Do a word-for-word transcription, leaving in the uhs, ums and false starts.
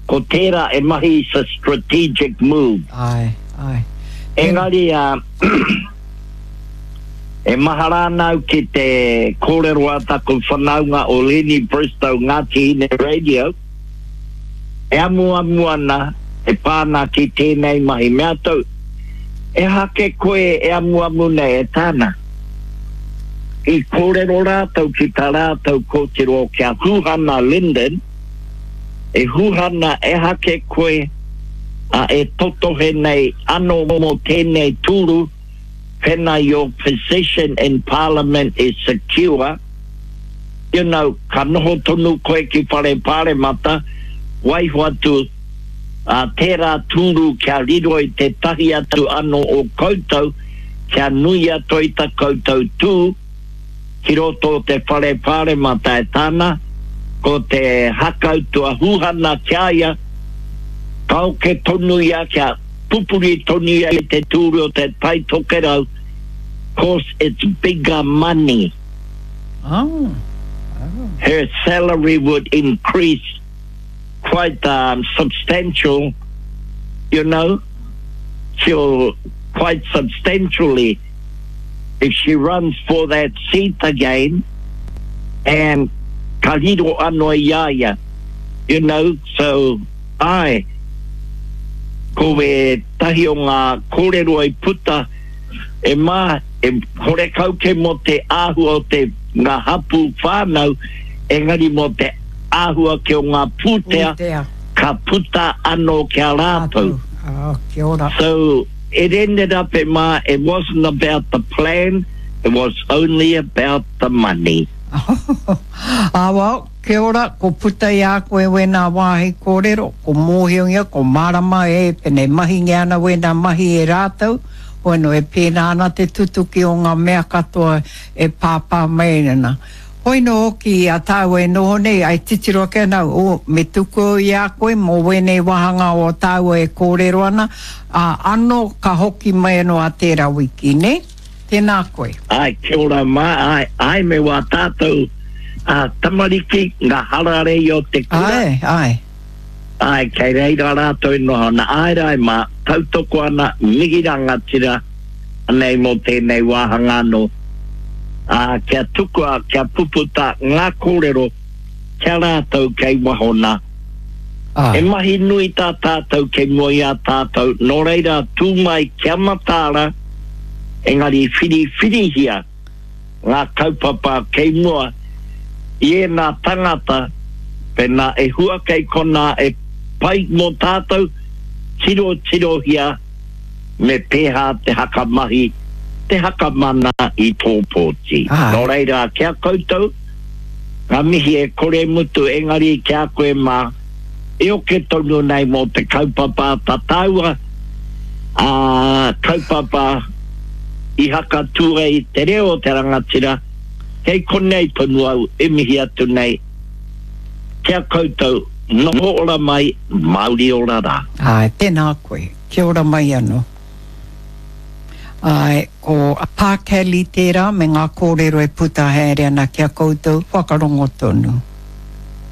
Ko tērā e mahi is a strategic move. Āe, āe. Engari, uh, e mahara ana au ki te kōrero a taku whanaunga o Lenny Bristow Ngāti Hine Radio, e amuamu ana e pā ana ki tēnei mahi. Mea atu, ehake koe e amuamu nei e tāna. I kōrero rātou ki tā rātou kōtiro ki a Huhana Lyndon, e Huhana ehake koe a e totohe nei anō mō tēnei tūru, pena your position in parliament is secure, you know, ka noho tonu koe ki whare pāremata, waiho atu a tērā tūru kia riro i te tahi atu anō o koutou, kia nui atu i ta koutou tū, ki roto o te whare pāremata e tāna, ko te hakautu a Huhana ki a ia, ka oke tonu ia kia pupuri tonu ia i te tūru o te Tai Tokerau, cause it's bigger money. Oh. Oh. Her salary would increase quite um, substantial, you know, she'll quite substantially if she runs for that seat again and ka riro anō i a ia, you know, so ai, ko e tahi o ngā kōrero i puta e mā, e horekau ke mō te āhua o te ngā hapū whānau, engari mō te āhua ki o ngā pūtea, Pūtea. ka puta anō ki a rātou. Oh, kia ora. So it ended up in my, it wasn't about the plan, it was only about the money. Ah, well, kia ora, ko puta i a koe wēnā wāhi kōrero, ko mōhiongia, ko marama e, pene mahinge ana wēnā mahi e rātou, hoeno e pēnā ana te tutuki o ngā mea katoa e pāpā mai ana. Hoino hoki a tāua e noho nei, ai titiro ake ana, o, me tuku au i a koe mō wēnei wāhanga o tāua e kōrero ana, a, anō ka hoki mai anō a tērā wiki, ne? Tēnā koe. Ai, kia ora mā, ai, ai me wā tātou a tamariki, ngā hararei o te kura. Ai, ai. Ai, kei reira rātou e noho ana. Ai rai mā, tautoko ana, mihi rangatira, anei mō tēnei wāhanga anō. Ā, kia tukua, kia puputa ngā kōrero kia rātou kei waho nā. Ai. E mahi nui tā tātou kei mua i a tātou, nō reira tū mai kia mataara, engari whiriwhirihia ngā kaupapa kei mua i ēnā tangata, pēnā e hua kei konā e pai mō tātou, tiro tirohia me pēhā te hakamahi, te hakamana i tō pōti. Ai. Nō reira, kia koutou, ngā mihi e kore mutu, engari kia koe mā, e oke tonu nei mō te kaupapa tā tāua, a kaupapa i hakatū ai te reo o te rangatira, kei konei tonu au e mihi atu nei, kia koutou, noho ora mai, Māori ora rā. Ai, tēnā koe. Kia ora mai anō. Ai, ko Pā Kelly tērā me ngā kōrero e puta haere ana kia koutou whakarongo tonu.